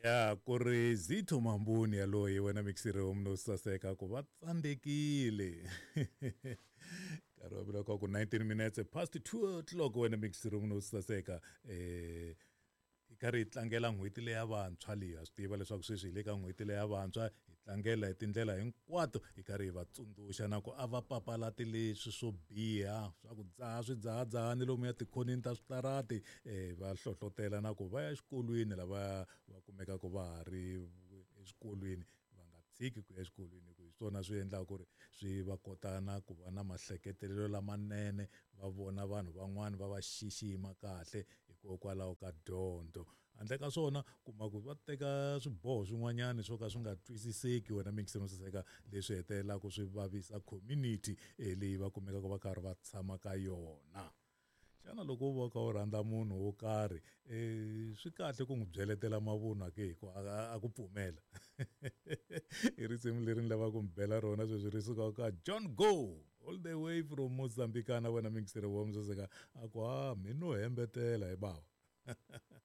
Ya ku ri Zitho Mambuni yaloye wena mixiri wa munhu saseka ku va tsandzekile. Nkarhi wa vula ku 19 minutes past 2 o'clock wena mixiri wa munhu saseka. Hi karhi hi tlangela n'hweti leya vantshwa leyi. Ha swi tiva leswaku sweswi hi le ka n'hweti leya vantshwa, hi tlangela hi tindlela hinkwato, hi karhi hi va tsundzuxa na ku a va papalati leswi swo biha swa ku dzaha swidzahadzahani lomuya tikhoneni ta switarati, va hlohlotela na ku va ya exikolweni lava va kumekaka va ha ri eswikolweni, va nga tshiki ku ya exikolweni hi ku hi swona swi endlaka ku ri swi va kota na ku va na mahleketelelo lamanene, va vona vanhu van'wani va va xixima kahle hikokwalaho ka dyondzo. Handle ka swona kuma ku va teka swiboho swin'wanyana swo ka swi nga twisiseki wena mingiselo saseka, leswi hetelelaka swi vavisa community leyi va kumekaka va karhi va tshama ka yona. Xana loko u va u kha u rhandza munhu wo karhi, swi kahle ku n'wi byeletela mavunwa ke hi ku a ku pfumela? I risimu leri ni lavaka ku mi bela rona sweswi ri suka ka John Go all the way from Mozambique na wena mingiseri wa musaseka a ku ha mi no hembetela hi bava.